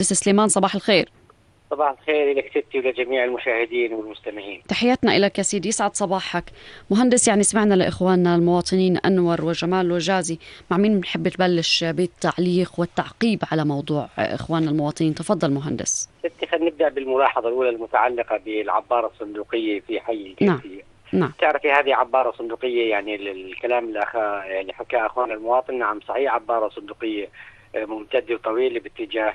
سليمان صباح الخير. صباح الخير لك ستي ولجميع المشاهدين والمستمعين. تحياتنا لك يا سيدي، يسعد صباحك. مهندس، يعني سمعنا لإخواننا المواطنين أنور وجمال وجازي، مع مين بنحب تبلش بالتعليق والتعقيب على موضوع إخواننا المواطنين؟ تفضل مهندس. ستي خلينا نبدأ بالملاحظة الأولى المتعلقة بالعبارة الصندوقية في حي الجنسية. نعم. تعرفي هذه عبارة صندوقية، يعني الكلام اللي حكاه أخونا المواطن نعم صحيح، عبارة صندوقية ممتدة وطويلة باتجاه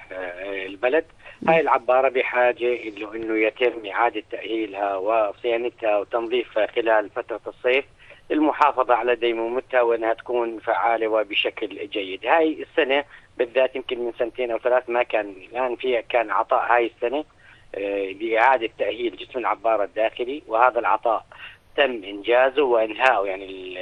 البلد. هاي العبارة بحاجة إنه يتم إعادة تأهيلها وصيانتها وتنظيفها خلال فترة الصيف للمحافظة على ديمومتها وأنها تكون فعالة وبشكل جيد. هاي السنة بالذات يمكن من 2 أو 3 ما كان، الآن فيها كان عطاء هاي السنة لإعادة تأهيل جسم العبارة الداخلي، وهذا العطاء تم إنجازه وإنهائه. يعني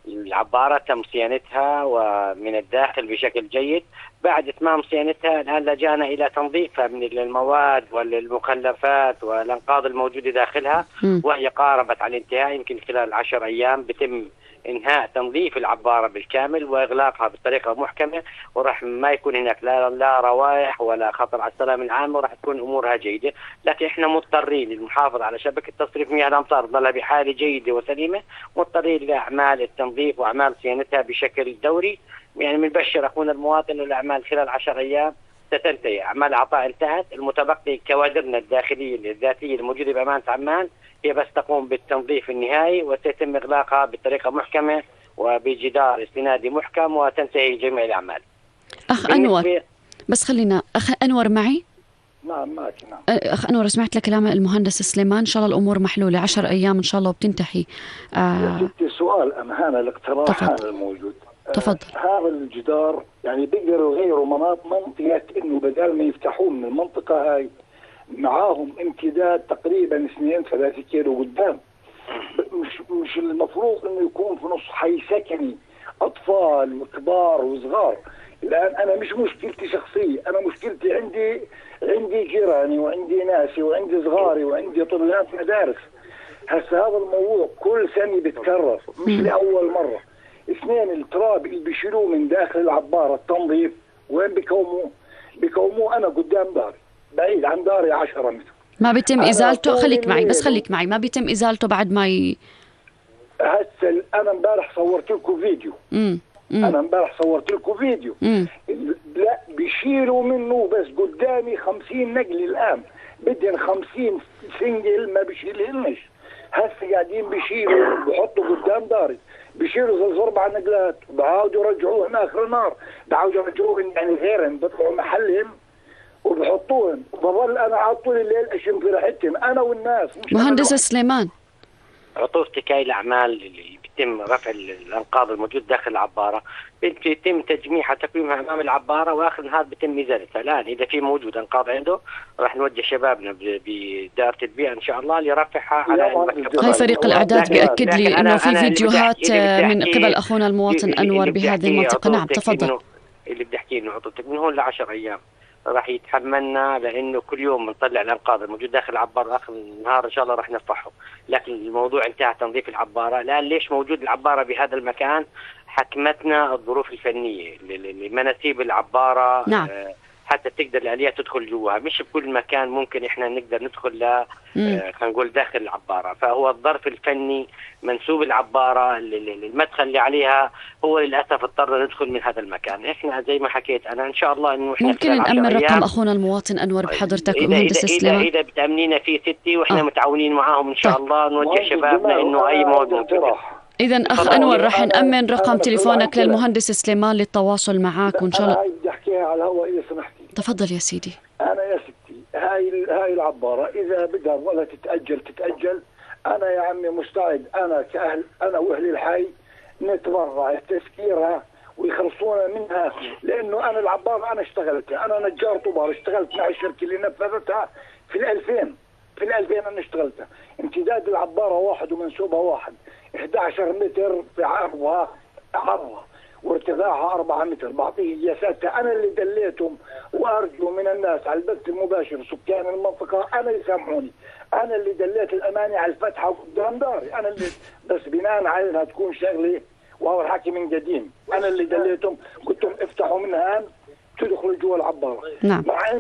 العبارة تم صيانتها ومن الداخل بشكل جيد. بعد إتمام صيانتها الآن لجأنا إلى تنظيفها من المواد والمخلفات والأنقاض الموجودة داخلها، وهي قاربت على الانتهاء. يمكن خلال 10 أيام بتم إنهاء تنظيف العبارة بالكامل وإغلاقها بطريقة محكمة، ورح ما يكون هناك لا روائح ولا خطر على السلامة العامة، ورح تكون أمورها جيدة. لكن إحنا مضطرين المحافظة على شبكة تصريف مياه الأمطار ضلها بحالة جيدة وسليمة، مضطرين لأعمال التنظيف وأعمال صيانتها بشكل دوري. يعني بنبشر أخونا المواطن أن الأعمال خلال 10 أيام ستنتهي. أعمال العطاء انتهت، المتبقي كوادرنا الداخلية الذاتية الموجودة بأمانة عمان هي بس تقوم بالتنظيف النهائي، وسيتم إغلاقها بطريقة محكمة وبجدار استنادي محكم، وتنتهي جميع الأعمال. أخ أنور، بس خلينا أخ أنور معي. نعم ماشي. نعم أخ أنور، سمعت لكلام المهندس سليمان، إن شاء الله الأمور محلولة، 10 أيام إن شاء الله وبتنتهي. ستي سؤال هذا الاقتراح هذا الموجود. تفضل. هذا الجدار يعني بيقدروا يغيروا منطقة إنه بدل ما يفتحوه من المنطقة هاي معاهم امتداد تقريبا 2-3 كيلو قدام. مش المفروض إنه يكون في نص حي سكني أطفال وكبار وصغار؟ الآن أنا مش مشكلتي شخصية، أنا مشكلتي عندي جيراني وعندي ناسي وعندي صغاري وعندي طلاب مدارس. هسه هذا الموضوع كل سنة بيتكرر، مش لأول مرة. 2 التراب اللي بيشيلوه من داخل العبارة التنظيف وين بيكوموه أنا قدام داري، بعيد عن داري 10 متر. ما بيتم إزالته؟ خليك معي بس، خليك معي. ما بيتم إزالته بعد ما هسه أنا امبارح صورت لكم فيديو. أنا امبارح صورت لكم فيديو. لا بيشيلوا منه بس قدامي 50 نقل الآن، بدهن 50 سنجل ما بيشيلهنش. هسه قاعدين بيشيلوا بحطوا قدام داري، بيشيلوا 4 نقلات وبعاودوا يرجعوهم آخر النهار، بعاودوا يرجعوهم يعني غيرهم بيطلعوا محلهم وبحطوهم. بظل أنا على طول الليل أشم في ريحتهم أنا والناس. مهندس سليمان، عطوفتك هاي الأعمال اللي بيتم رفع الأنقاض الموجود داخل العبارة بيتم تجميعها تقويمها أمام العبارة، وآخر النهار بيتم إزالتها. الآن إذا في موجود أنقاض عنده راح نوجه شبابنا بدار البيئة إن شاء الله لرفعها على المكتب. هاي فريق الإعداد بيأكد لي إنه في فيديوهات من قبل أخونا المواطن أنور بهذه المنطقة. نعم تفضل. اللي بدي أحكي إنه عطوتك من هون ل10 أيام راح يتحملنا، لأنه كل يوم بنطلع الأنقاض الموجود داخل العبارة، آخر النهار إن شاء الله راح نرفعه. لكن الموضوع انتهى تنظيف العبارة. الآن ليش موجود العبارة بهذا المكان؟ حكمتنا الظروف الفنية لمناسيب العبارة. نعم. حتى تقدر الآليات تدخل جواها، مش بكل مكان ممكن إحنا نقدر ندخل خلينا نقول داخل العبارة. فهو الظرف الفني منسوب العبارة المدخل اللي عليها هو للأسف اضطر ندخل من هذا المكان. إحنا زي ما حكيت أنا إن شاء الله إنه إحنا ممكن نأمن رقم أخونا المواطن أنور بحضرتك مهندس سليمان إذا بتأمنينا فيه ستي، وإحنا متعاونين معاهم إن شاء الله نوجه شبابنا إنه أي موضوع. إذا أخ أنور رح نأمن رقم تليفونك للمهندس سليمان للتواصل معك، وإن شاء الله. أنا بدي أحكيها على الهواء إذا سمحتي. تفضل يا سيدي. أنا يا ستي هاي العبارة إذا بدها ولا تتأجل. أنا يا عمي مستعد، أنا كأهل أنا وأهل الحي نتبرع تسكيرها ويخلصونا منها، لأنه أنا العبارة أنا اشتغلتها، أنا نجار طوبار، اشتغلت مع الشركة اللي نفذتها في 2000 أنا اشتغلتها. امتداد العبارة 1 ومنسوبها 1، 11 متر في عرضها وارتفاعها 4 متر. بعطيه قياساتها أنا اللي دليتهم، وأرجو من الناس على البث المباشر سكان المنطقة أنا يسامحوني، أنا اللي دليت الأماني على الفتحة قدام داري، أنا اللي بس بناء على إنها تكون شغلة وهو الحكي من قديم، أنا اللي دليتهم قلت لهم افتحوا منها تدخل جوا العبارة. نعم. مع